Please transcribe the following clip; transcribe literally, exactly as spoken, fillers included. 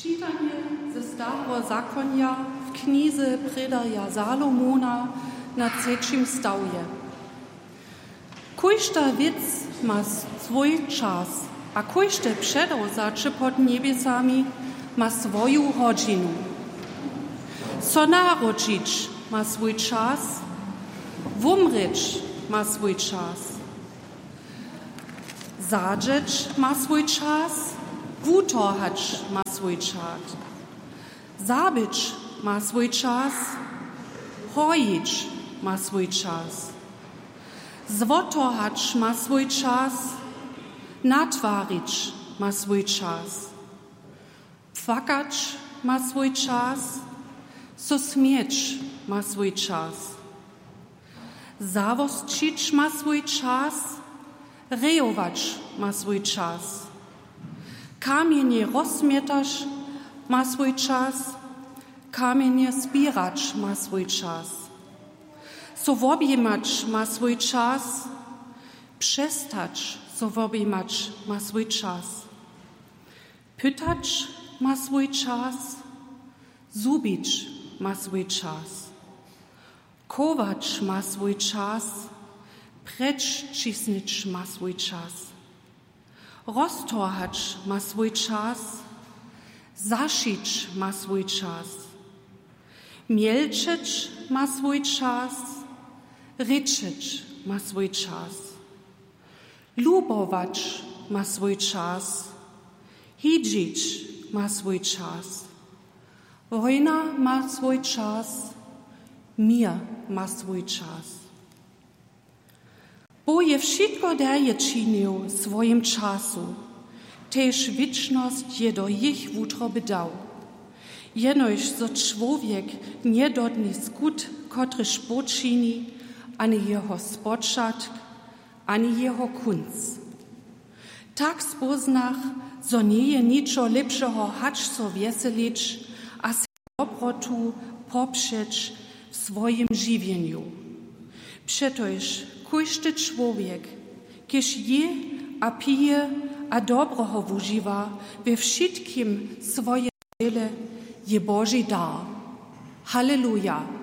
Čitanje ze Stareho zakonja w knize prědarja Salomona na třećim stawje. Kóžda wěc ma swój čas, a kóžde předewzaće pod njebjesami ma swoju hodźinu. So narodźić ma swój čas, wumrěć ma swój čas. Zadźeć ma swój čas, wutorhać ma swój čas. Zabyć ma swój čas, hojić ma swój čas. Zwotorhać ma swój čas, natwarić ma swój čas. Płakać ma swój čas, so směć ma swój čas. Zawosćić ma swój čas, rejować ma swój čas. Kamjenje rozmjetaš ma swój čas, kamjenje zběrać ma swój čas. So wobjimać ma swój čas, přestać so wobjimać ma swój čas. Pytać ma swój čas, zhubić ma swój čas. Chować ma swój čas, prjećisnyć ma swój čas. Roztorhać ma swój čas, zašić ma swój čas. Mjelčeć ma swój čas, rěčeć ma swój čas. Lubować ma swój čas, hidźić ma swój čas. Wójna ma swój čas, měr ma swój čas. Bóh je wšitko derje činił w swojim času, tež wěčnosć je do jich wutroby dał. Jenož zo čłowjek njedodni skut, kotryž Bóh čini, ani jeho spočatk, ani jeho kónc. Tak spóznach, zo njeje ničo lěpšeho, hač so wjeselić a sej dobrotu popřeć w swojim žiwjenju. Přetož kóždy čłowjek, kiž jě a pije a dobroho wužiwa, we wšitkim swojej dźěle je Boži dar. Haleluja!